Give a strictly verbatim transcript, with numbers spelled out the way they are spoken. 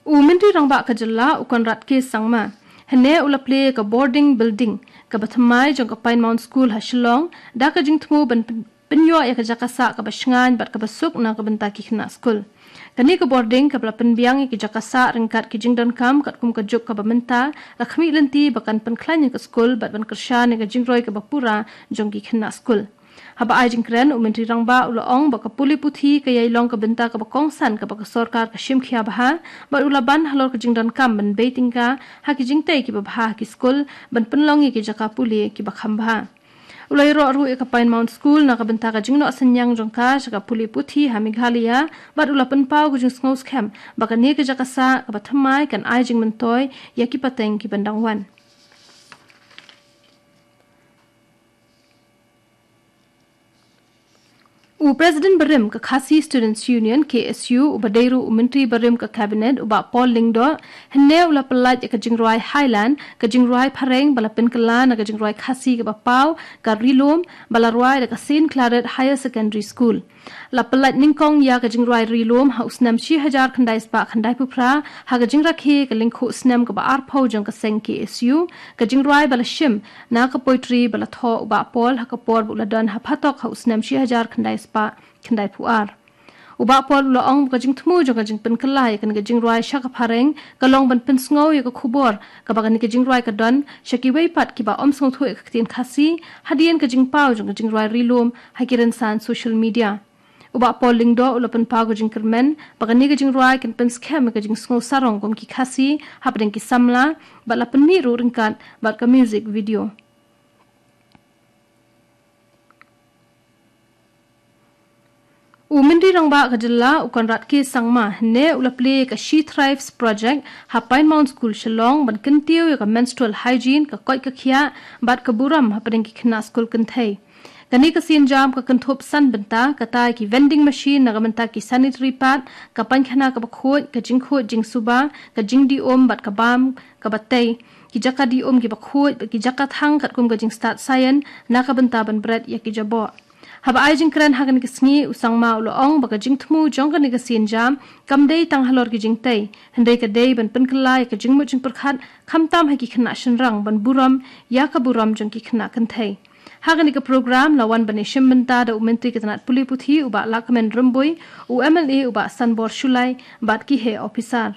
U Myntri Rangbah ka jylla u Conrad K Sangma hynne u la plie ka boarding building kaba thymmai jong ka Pine Mount School ha Shillong da ka jingthmu ban pyn- pynïoh ïa ka jaka sah kaba shngaiñ bad kaba suk na ka bynta ki khynnah skul. Kane ka boarding kaba la pynbiang ïa ki jaka sah ryngkat ki jingdonkam katkum ka juk kaba mynta la khmih lynti ba kan pynkhlaiñ ïa ka skul bad ban kyrshan ïa ka jingroi kaba pura jong ki khynnah skul. Haba ai jingkren u Myntri Rangbah u la ong ba ka pule puthi ka ïai long ka bynta kaba kongsan kaba ka sorkar ka shim khia bha bad u la ban halor ka jingdonkam ban bei tyngka ha ki jingtei kiba bha ha ki skul ban pynlong ïa ki jaka pule kiba kham bha. U la ïaroh ruh ïa ka Pine Mount School na ka bynta ka jingnoh synñiang jong ka sha ka pule puthi ha Meghalaya bad u la pynpaw ka jingsngew skhem ba kane ka jaka sah kaba thymmai kan ai jingmyntoi ïa ki pateng kiban dang wan. U President barim ka Khasi Students Union, K S U, uba dei ruh u Myntri barim ka Cabinet, u Bah Paul Lyngdoh, hynne u la pyllait ïa ka jingrwai Highland, ka jingrwai phareng ba la pynkylla na ka jingrwai Khasi kaba paw, ka Ri Lum, ba la rwai da ka Saint Claret Higher Secondary School. La pyllait nyngkong ïa ka jingrwai Ri Lum ha u snem shi hajar khyndai spah khyndai phew phra ha ka jingrakhe ka lyngkhuh snem kaba arphew jong ka seng K S U, ka jingrwai ba la shim na ka poetry ba la thoh u Bah Paul ha ka por ba u la don ha phatok ha u snem shi hajar khyndai spah khyndai phew ar. U Bah Paul u la ong ba ka jingthmu jong ka jingpynkylla ïa kane ka jingrwai sha ka phareng ka long ban pynsngew ïa ka khubor kaba kane ka jingrwai ka don sha kiwei pat kiba ym sngewthuh ïa ka ktien Khasi hadien ka jingpaw jong ka jingrwai Ri Lum ha ki rynsan social media. U Bah Paul Lyngdoh u la pynpaw ka jingkyrmen ba kane ka jingrwai kan pynskhem ïa ka jingsngew sarong kum ki Khasi hapdeng ki samla bad la pynmih ruh ryngkat bad ka music video. U Myntri Rangbah ka jylla u Conrad K Sangma hynne u la plie ka She Thrives Project ha Pine Mount School Shillong ban kyntiew ïa ka menstrual hygiene, ka koit ka khiah bad ka burom hapdeng ki khynnah skul kynthei. Kane ka sienjam ka kynthup san bynta, kata ki vending machine na ka bynta ki sanitary pad, ka painkhana kaba khuid, ka jingkhuid jingsuba, ka jingdih um bad ka bam kaba tei, ki jaka dih um kiba khuid bad ki jaka thang katkum ka jingstad saian na ka bynta ban bret ïa ki jaboh. Haba ai jingkren ha kane ka sngi, u Sangma u la ong ba ka jingthmu jong kane ka sienjam kam dei tang halor ki jingtei, hynrei ka dei ban pynkylla ïa ka jingmut jingpyrkhat khamtam ha ki khynnah shynrang ban burom ïa ka burom jong ki khynnah kynthei. Ha kane ka program la wan ban ïashim bynta da u Myntri ka tnat pule puthi u Bah Lahkmen Rymbui, u M L A u Bah Sanbor Shullai bad ki heh ophisar.